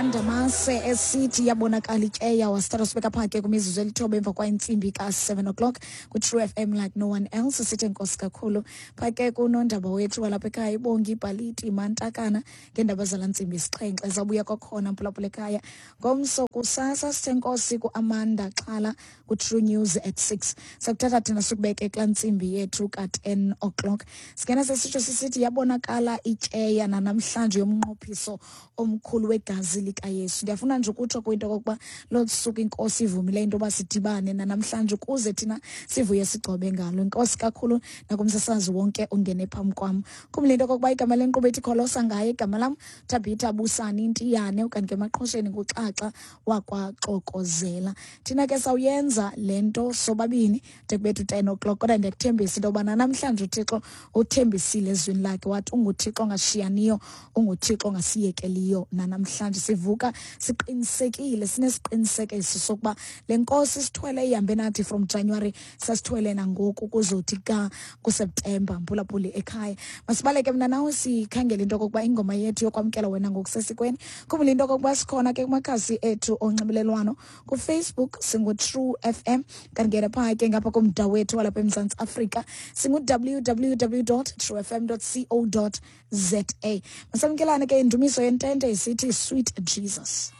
kaNdamase esithi yabonakala ityeya, wasithatha sibeka phaa ke kwimizuzu elithoba emva kwentsimbi ka-7 o'clock kwi-True FM like no one else. Sithi enkosi kakhulu phaa ke kunondaba wethu walapha ekhaya, iBongi Ibhaliti Mantakana, ngeendaba zala ntsimbi isixhenxe. Zawubuya kwakhona, mphulaphula ekhaya, ngomso kusasa. Sithe enkosi ku-Amanda Xhala ku-True News at 6. Sakuthatha thina sikubeke kulaa ntsimbi yethu ka-10 o'clock. Singena sesitsho sisithi yabonakala ityeya nanamhlanje yomnqophiso omkhulu wegazi likaYesu. Ndiyafuna nje ukutsho kwinto okokuba loo suku iNkosi ivumile into yoba sidibane nanamhlanje ukuze thina sivuye sigcobe ngalo. Inkosi kakhulu nakumsasazi wonke ongene phambi kwam. Khumbula into okokuba igama lenkqubo ethi Kholosa ngaye, igama lam Thabitha Busani Ntiyane, ukanti ke emaqhosheni nguXaxa wakwaXokozela. Thina ke sawuyenza le nto sobabini de kubethu 10 o'clock, kodwa ndiyakuthembisa into yobana namhlanje uThixo uthembisile ezwini lakhe, wathi unguThixo ongashiyaniyo, unguThixo ongasiyekeliyo. Nanamhlanje sivuka siqinisekile, sinesiqinisekiso sokuba le Nkosi sithwele ihambe nathi from January, sasithwele nangoku kuzothi ka kuSeptemba. Mphulaphuli ekhaya, masibaleke mna nawe sikhangele into okokuba ingoma yethu yokwamkela wena ngokusesikweni. Khumbula into okokuba sikhona ke kumakhasi ethu onxibelelwano. KuFacebook singu-True FM, kanti ngena phaa ke ngapha kumda wethu walapha eMzantsi Afrika singu-www true fm co za. Masamkelane ke indumiso yentente isithi Sweet Jesus.